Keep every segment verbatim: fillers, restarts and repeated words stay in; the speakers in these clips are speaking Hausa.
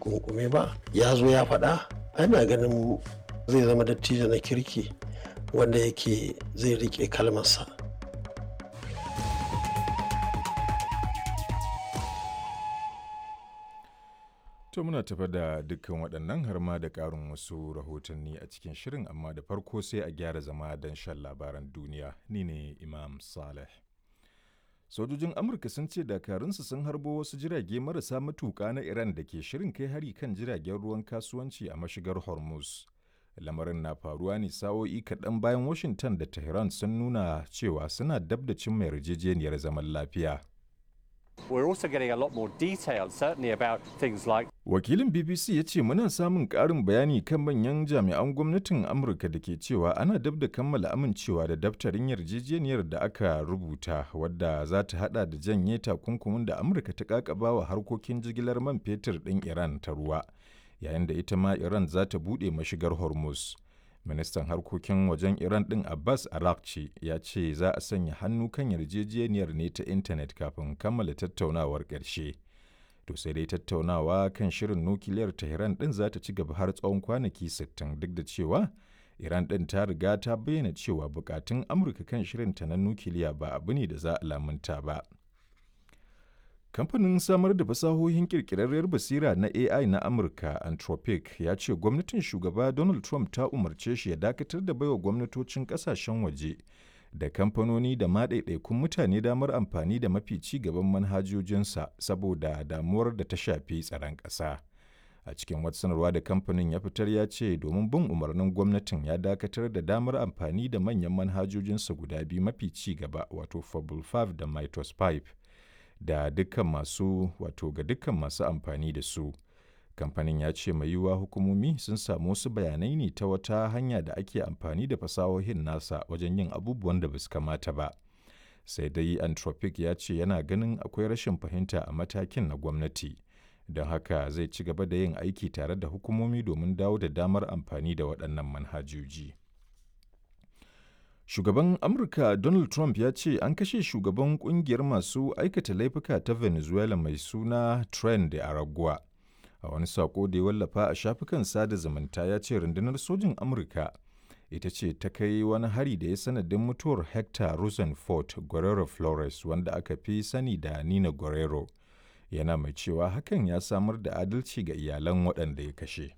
kunkume ba ya zo ya faɗa, ana ganin zai zama dattijo na kirki wanda yake zai riƙe kalmarsa. To muna tafa da dukkan waɗannan har ma da ƙarin wasu rahotanni a cikin shirin, amma da farko sai a gyara zama don shan labaran duniya. Ni ne Imam Saleh. Sojojin Amurka sun ce dakarunsu sun harbo wasu jirage marasa matuƙa na Iran da ke shirin kai hari kan jiragen ruwan kasuwanci a mashigar Hormuz. Lamarin na faruwa ne sa'o'i kaɗan bayan Washington da Tehran sun nuna cewa suna dab da cimma yarjejeniyar zaman lafiya. We're also getting a lot more detail, certainly about things like Wakilin B B C ya ce muna samun ƙarin bayani kan manyan jami'an gwamnatin Amurka da ke cewa ana dab da kammala amincewa da daftarin yarjejeniyar da aka rubuta, wadda za ta hada da janye takunkumin da Amurka ta kakaba wa harkokin jigilar man fetur ɗin Iran ta ruwa, yayin da ita ma Iran za ta buɗe mashigar Hormuz. Ministan harkokin wajen Iran ɗin Abbas Araghchi ya ce za a sanya hannu kan yarjejeniyar ne ta intanet kafin kammala tattaunawar ƙarshe. To sai dai tattaunawa kan shirin nukiliyar Tehran ɗin za ta ci gaba har tsawon kwanaki sittin, duk da cewa Iran ɗin ta riga ta bayyana cewa bukatun Amurka kan shirinta na nukiliya ba abu ne da za a lamunta ba. Kamfanin samar da fasahohin ƙirƙirarriyar basira na A I na Amurka, Anthropic, ya ce gwamnatin shugaba Donald Trump ta umarce shi ya dakatar da baiwa gwamnatocin ƙasashen waje da kamfanoni da ma ɗaiɗaikun mutane damar amfani da mafi ci gaban manhajojinsa saboda damuwar da ta shafi tsaron ƙasa. A cikin wata sanarwa da kamfanin ya fitar, ya ce domin bin umarnin gwamnatin ya dakatar da damar amfani da manyan manhajojinsa guda biyu mafi ci gaba, wato Fable biyar da Mythos biyar, da dukkan masu wato ga dukkan masu amfani da su. Kamfanin ya ce mai yiwuwa hukumomi sun samu wasu bayanai ne ta wata hanya da ake amfani da fasahohin nasa wajen yin abubuwan da basu kamata ba. Sai dai Anthropic ya ce yana ganin akwai rashin fahimta a matakin na gwamnati, don haka zai ci gaba da yin aiki tare da hukumomi domin dawo da damar amfani da waɗannan manhajoji. Shugaban Amurka Donald Trump ya ce an kashe shugaban kungiyar masu aikata laifuka ta Venezuela mai suna Tren de Aragua. A wani sako da ya wallafa a shafukan sada zumunta, ya ce rundunar sojin Amurka ita ce ta kai wani hari da ya sanadin mutuwar Hector Rosenfort Guerrero Flores, wanda aka fi sani da Nina Guerrero. Yana mai cewa hakan ya samar da adalci ga iyalan waɗanda ya kashe.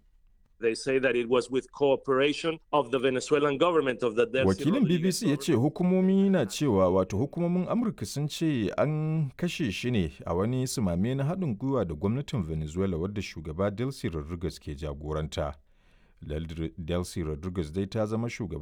They say that it was with cooperation of the Venezuelan government, of the Delcy Wakilin Rodriguez B B C ya ce hukumomi na cewa, wato hukumomin Amurka sun ce an kashe shi ne a wani sumame na haɗin gwiwa da gwamnatin Venezuela wadda shugaba Delcy Rodriguez ke jagoranta. Delcy Rodriguez dai ta zama shugabar